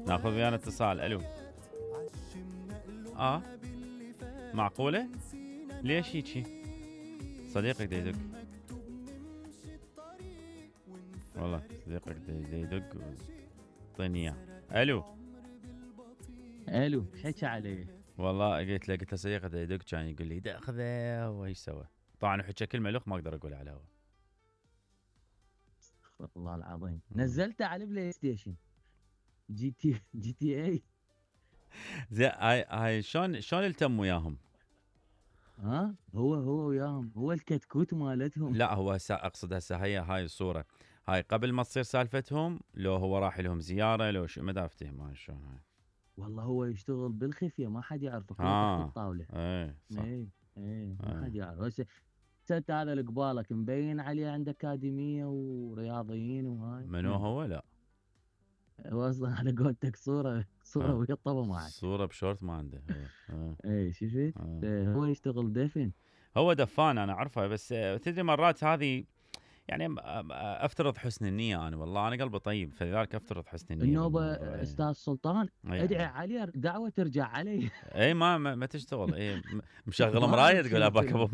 ناخذ ويانا اتصال. الو. معقولة؟ ليش هيجي؟ صديقك دا يدق والله، صديقك دا يدق اعطيني اياه. الو حكى علي والله، قلت له صديقك دا يدق، كان يقول لي دا اخذه وايش سوى. طبعا حكى كلمة لخ ما اقدر اقولها على الهواء. والله العظيم نزلته على البلاي ستيشن جي تي اي. زين، هاي شلون التم وياهم؟ هو وياهم، هو الكتكوت مالتهم. لا هو اقصد هسه هاي الصورة، هاي قبل ما تصير سالفتهم، لو هو راح لهم زيارة، لو شو، ما دا افتهم هاي شلون هاي. والله هو يشتغل بالخفية، ما حد يعرفه، كله تحت الطاولة. صح. ما حد يعرف. هسه هذا اللي قبالك مبين عليه عنده اكاديمية ورياضيين وهاي. منو هو؟ لا هو اصلا على قولتك صورة ويا الطبع معك، صورة بشورت ما عنده. شفت. هو يشتغل دفن، هو دفان انا اعرفه، بس تدري مرات هذه يعني افترض حسن النية. انا والله انا قلبي طيب، فلذلك افترض حسن النية. النوبة استاذ سلطان، ادعي عليه دعوة ترجع علي. ما تشتغل. مشغل مراية تقول اباك ابو